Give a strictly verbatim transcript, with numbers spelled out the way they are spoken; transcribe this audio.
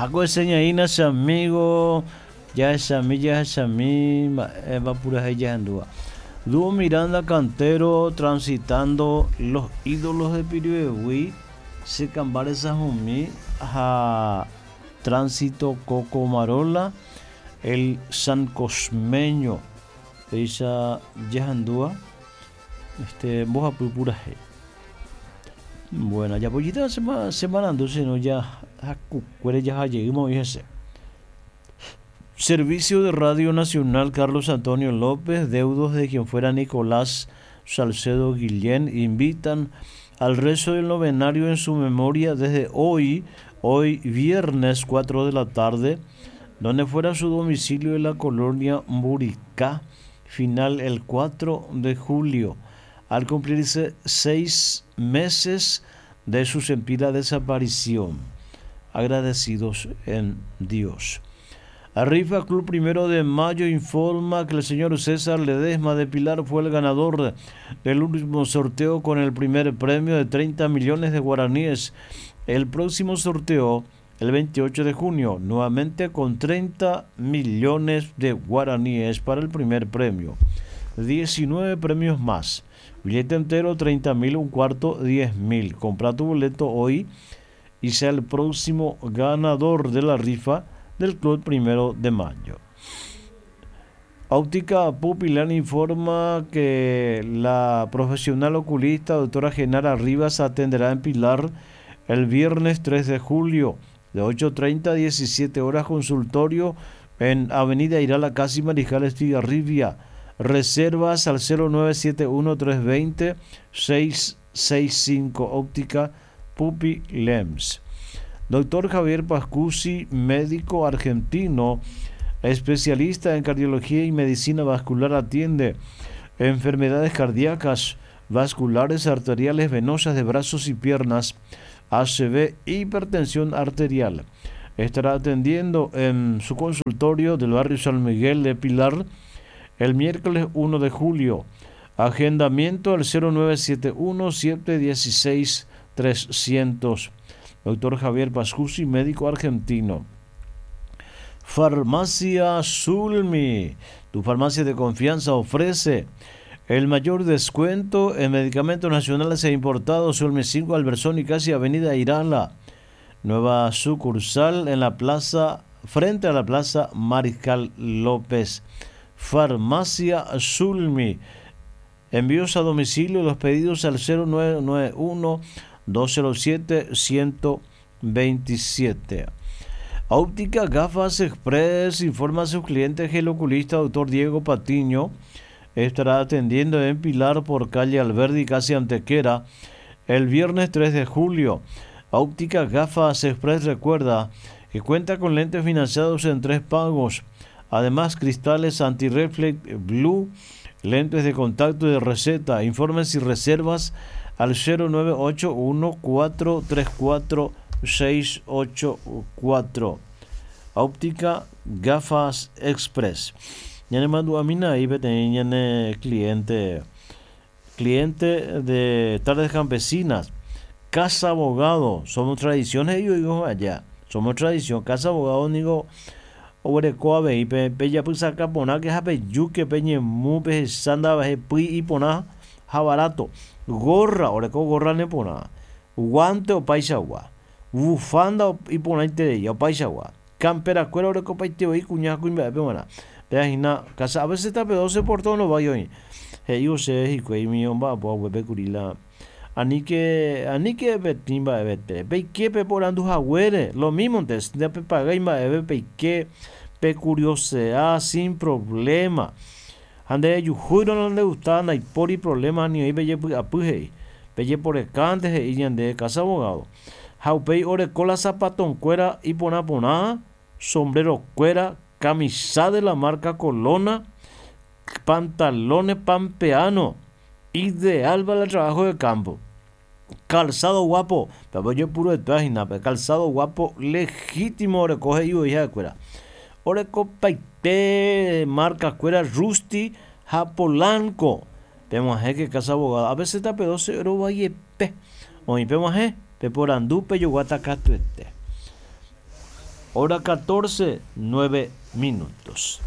Jahaku eseñaína che amigo, jahechami jahechami mba'épa purahéi jahendúva. Dúo Miranda Cantero transitando los ídolos de Piribebuy, che kamba resahumi ha Tránsito Coco Marola, el San Cosmeño, péicha jahendúva este mbohapy purahéi. Bueno, japoyíta che marandu sino jahakukuére jahajeýma oĩ hese. Servicio de Radio Nacional Carlos Antonio López, deudos de quien fuera Nicolás Salcedo Guillén, invitan al rezo del novenario en su memoria desde hoy, hoy viernes cuatro de la tarde, donde fuera su domicilio en la colonia Mburicá, final el cuatro de julio, al cumplirse seis meses de su sentida desaparición. Agradecidos en Dios. Rifa Club Primero de Mayo informa que el señor César Ledesma de Pilar fue el ganador del último sorteo con el primer premio de treinta millones de guaraníes. El próximo sorteo, el veintiocho de junio, nuevamente con treinta millones de guaraníes para el primer premio. diecinueve premios más. Billete entero treinta mil, un cuarto diez mil. Compra tu boleto hoy y sea el próximo ganador de la rifa del Club Primero de Mayo. Óptica Pupilán informa que la profesional oculista doctora Genara Rivas atenderá en Pilar el viernes tres de julio de ocho treinta a diecisiete horas, consultorio en Avenida Irala, casi Mariscal Estigarribia. Reservas al cero nueve siete uno tres veinte seis seis cinco. Óptica Pupilems. Doctor Javier Pascucci, médico argentino, especialista en cardiología y medicina vascular, atiende enfermedades cardíacas, vasculares, arteriales, venosas de brazos y piernas, A C V, hipertensión arterial. Estará atendiendo en su consultorio del barrio San Miguel de Pilar el miércoles uno de julio. Agendamiento al cero nueve siete uno siete dieciséis trescientos. Doctor Javier Pascucci, médico argentino. Farmacia Zulmi, tu farmacia de confianza, ofrece el mayor descuento en medicamentos nacionales e importados. Zulmi cinco, Albertsoni, y casi Avenida Irala. Nueva sucursal en la plaza, frente a la plaza Mariscal López. Farmacia Zulmi. Envíos a domicilio, los pedidos al cero nueve nueve uno dos cero siete ciento veintisiete. Óptica Gafas Express informa a sus clientes que el oculista doctor Diego Patiño estará atendiendo en Pilar por calle Alberdi, casi Antequera, el viernes tres de julio. Óptica Gafas Express recuerda que cuenta con lentes financiados en tres pagos. Además, cristales anti-reflect blue, lentes de contacto y de receta. Informes y reservas al cero nueve ocho uno cuatro tres cuatro seis ocho cuatro. Óptica Gafas Express. Ya le mando a mina ahí, peteña, cliente, cliente de Tardes Campesinas. Casa Abogado, somos tradiciones, yo digo allá, somos tradición. Casa Abogado, digo, orecoa ve y pe, pe ya pues saca pona que jape yuque peñe mu pe sanda baje pui y pona jabarato. Gorra, oreco gorra ne pona. Guante o paisagua. Bufanda o y pona intereya o paisagua. Campera cuero oreco paiteo y cuñaco y me pe mana. Pe ajina casa a veces está pedo se por todo no va yo. Hey yo sé y cuey mi omba po hueve curila. Ani que, ani que betimba bete. Pe que pe por andu jagüere, lo mismo entonces, de pe paga y ma ebe pe que pe curiosea sin problema. Ande yujuiro no le gustaba ni por y problema ni ahí pe apuje. Pe por el cante y ande casa abogado. Jaupei ore cola zapatón cuera y pona pona, sombrero cuera, camisa de la marca Colona, pantalones pampeano, ideal para el trabajo de campo. Calzado guapo, pero yo puro de página, pero calzado guapo legítimo recoge y hija de cuera. Oreco paite, marca cuera Rusti Japolanco. Pemos que casa abogado. A veces está pedo cero valle pe. Oí pemos pe por andu pe yo guatacato este. Hora catorce, nueve minutos.